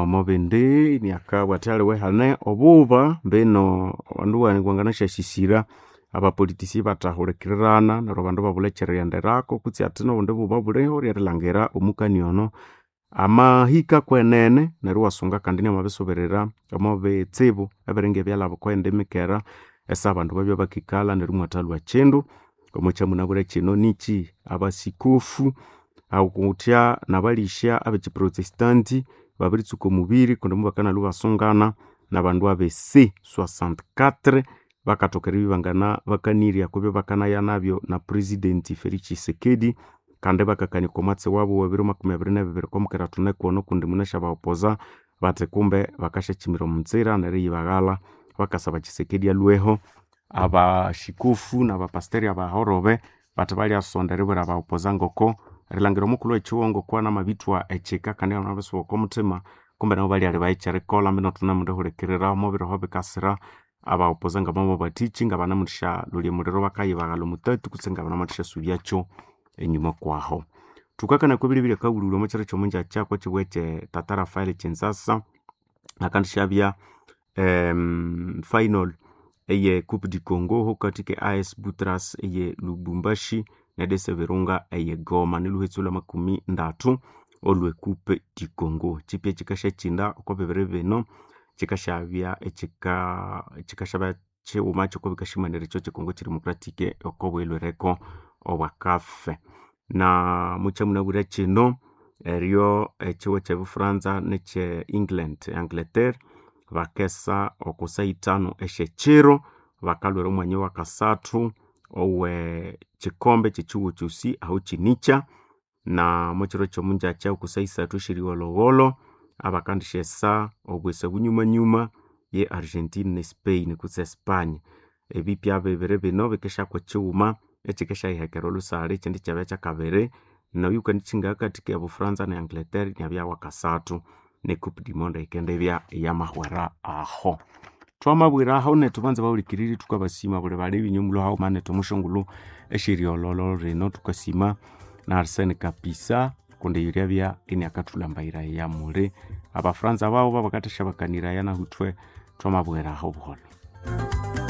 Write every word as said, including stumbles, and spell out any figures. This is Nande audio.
Nomo bindi iniakabugha athi aliwe hane obuba mbino abandu wanganasyasyisira abapolitician ibathahulikirirana neryo abandu ibabulha ekyerighenderako kutse athi nobundi buba buliho ryerilhangira omukani ono amahika kwenene neryo iwasunga kandi inamabisubirira omo bitsibu ebiringa ebyalhaba okweyindi mikera esa abandu babya bakikalha neryo imwathalhwa kyindu. Omwakyamunabwire kyino nikyi abasikofu awukuthya nabalisya abekyi protestant babiritsuka omubiri kundi mubakanalwa ibasungana nabandu abe C soixante-quatre bakathoka eribya ibangana bakanirya okubya bakanaya nabyo na president Felix Tshisekedi kandi ibakakania okomwatsi wabu owebiro makumi abiri nabibiri okwamukera thunekwono kundi munasi aba opposer bathi kumbe bakasyakyimira omunzira neriyibaghalha bakasaba Tshisekedi alhweho. Abasikofu nabapasteri abahorobe bathi balyasonda eribwira aba opposer ngoko erilhangira omukulhu wekyihugho ngoko anamabithwa ekyika kandi inamabisuba okomuthima kumbe nabo balyalebaya ekyerikolha mbino thunemudihulikirira omubiroho bikasira aba opposer ngamamubathikyi ngabanamusyalolya omuliro bakayibaghalha omutatu kutse ngabanamusyasubyakyo enyuma kwaho. Thukakania okwebiryo ebyakabulhulhu omwakyiro kyomungyakya okwakyibugho ekye Tata Raphael Kyinzasa hakandisyabya final eye coupe du Congo hukathi ke A S Butras eye Lubumbashi ne D C Virunga eye Goma nilhuhetsu lwamakumi ndatu olwe coupe du Congo. Kyipya kyikasyakyinda okwa bibiri bino kyikasyabya ekyika kyikasyabya kyighuma kyokobikasyimanirya ekyo kye Congo Democratic okobuyilhwireko obwa C A F. Na mukyamunabwire kyino eryo ekyihugho ekye Bufaransa nekye England Angleterre bakesa oko saha ithanu esyekyiro bakalhwira omwanya owakasathu owe kyikombe kyekyihugho kyosi aho kyinikya na mukyiro kyomungyakya oko saha isathu esyerigholhogholho abakandisyesa obwesa bunyumanyuma ye Argentina ne Spain kutse Espanya. Ebipya bibiri bino bikesyakwa kyighuma ekyikesyayihekera olhusalha ekyindi ikyabya kyakabiri noyu wukandikyinga ahakathi ke Bufaransa ne Angleterre inabya wakasathu ne coupe du monde yikendibya iyamahwera aho. Thwamabwiraho nethu banza bahulikiriri thukabasima buli balebe inywe mulhwe haghuma nethu omusyongulhu esyeriyolholo rino thukasima na Arsene Kapisa kundi eyo ryabya iniakathulhambayiraya muli abafaransa babo babakathasyabakaniraya nahu ithwe thwamabwiraho buholho.